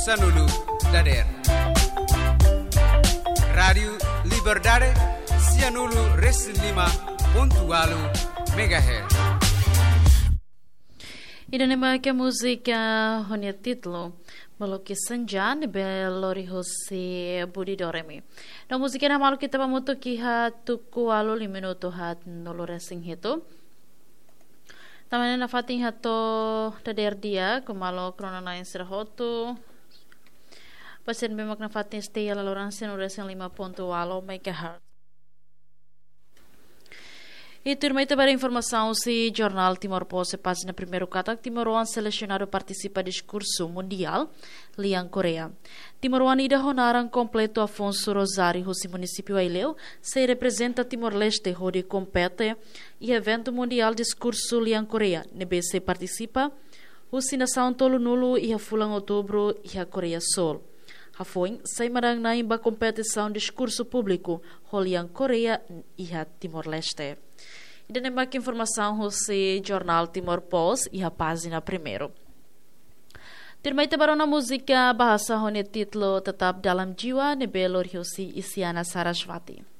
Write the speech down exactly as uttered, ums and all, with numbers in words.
Sanulu dader. Rádiu Liberdade, sianulu resin lima pontu walu megahertz. Ida-ne'e mak múzika ho nia títulu Maloke Senja ne'ebé lori husi Budi Doremi. No múzika ne'e maluk ita ba hamutuk iha tuku ualu lima minutu haat nulu resin hitu. Tanba ne'e nafatin hato'o dader di'ak, maluk rona-na'in sira hotu. Pasiente ne'ebé mak nafatin stay iha laloran sianulu resin lima pontu walu megahertz. I tuirmai ita ba informasaun husi Jornál Timor Post, pájina primeiru katak timoroan selesionadu partisipa diskursu mundiál lian Koreia. Timoroan ida ho naran kompletu Afonso Rosário husi munisípiu Aileu, sei reprezenta Timor-Leste hodi kompete iha eventu mundiál diskursu lian Koreia, ne'ebé sei partisipa husi nasaun tolunulu iha fulan Outubru iha Koreia Súl. Hafoin, sai manán-na'in ba kompetisaun diskursu públiku ho lian Koreia iha Timor-Leste. Ida-ne'e mak informasaun husi Jornál Timor Post iha pájina primeiru. Tuirmai ita ba rona múzika bahasa ho nia títulu Tetap Dalam Jiwa ne'ebé lori husi Isyana Sarasvati.